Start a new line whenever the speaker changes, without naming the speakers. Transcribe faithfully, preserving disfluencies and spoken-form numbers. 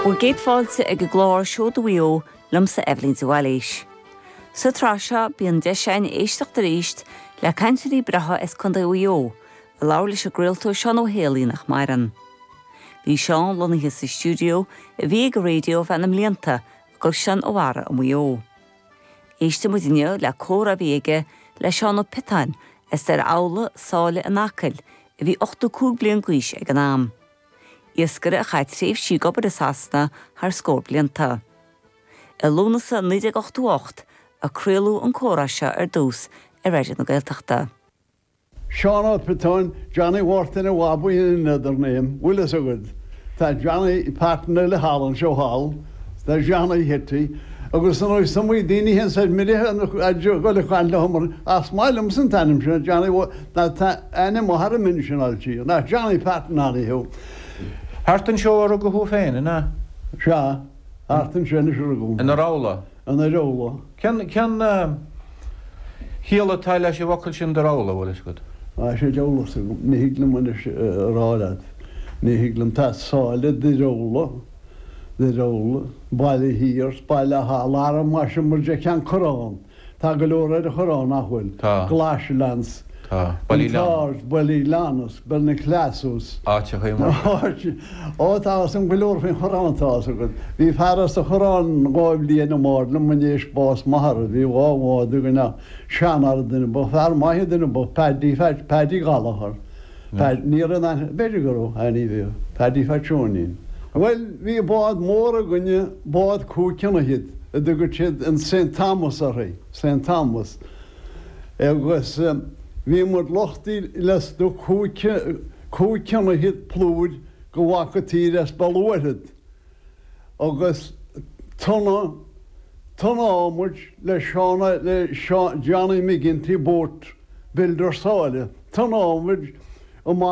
Bhur gcéad fáilte ag an gclár Seoda Mhaigh Eo liomsa Eibhlín de Bhailís. Sa tsraith seo bíonn deis againn éisteacht arís le cainteoirí breátha as Contae Mhaigh Eo, a labhair leis an gcraoltóir Seán Ó hÉalaí nach maireann. Bhí Seán lonnaithe sa stiúideo a bhí ag an raidió feadh na mblianta i gCaisleán an Bharraigh i Maigh Eo. Éistfidh muid inniu le comhrá a bhí aige le Seán Ó Piotáin as Doire Abhla Sáile in Acaill a bhí ochtó cúig bliain d'aois ag an am. Iascaire a chaith tréimhsí ag obair i Sasana thar scór blianta. I Lúnasa naoi déag ochtó ocht a craoladh an comhrá seo ar dtús ar Raidió na Gaeltachta.
Seán Ó Piotáin, Johnny Mhártain a Bhabaí another name, bhfuil fhios agat. Tá Johnny partner le hall anseo thall, tá Johnny Hitty, agus an ois mu daoine hen said mire go chaint le mar as maith liom san t-ainm sin Johnny tá ainm thar min sin alti, ná Johnny Patton thú.
Thart anseo a rugadh thú féin, ina?
Sea, thart anseo a rugadh.
I nDoire Abhla?
I nDoire Abhla.
Cén cén chiall atá leis an bhfocal sin Doire Abhla, bhfuil fhios agat?
Á sé eolas agam, ní thig liom anois a rá leat. Ní thig liom tá Sáile Doire Abhla, Doire Abhla, Baile Thiar, Baile Thall, Arm sin mar de Cheann Corrán. Tá go leor ar an Chorrán nach bhfuil.
Tá.
Glashlands.
Tá.
Ballylanus, Belnaclassus.
Áiteacha mar.
Ó tá san go leor faoin Chorrán tá agat. Bhí fear as an Chorrán dhá bhliain amháin liom éis bás m'athar, bhí dhá bhád againn seanfhear duine ba fear maith duine ba Paddy Paddy Gallagher. Ní an b'fhéidir go raibh ní bhí Paddy Phat Seoinín. Well bhí bád mór againne bád cúig throigh a dtugadh siad an St Thomas uirthi, St Thomas. Agus bhí muid luchtaí le do cúig throigh plúir go bhfaca tír as Baluairhead. Agus tonna tonna muid le Seán le Johnny McGinty boat builder Sáile. Tonna muid amach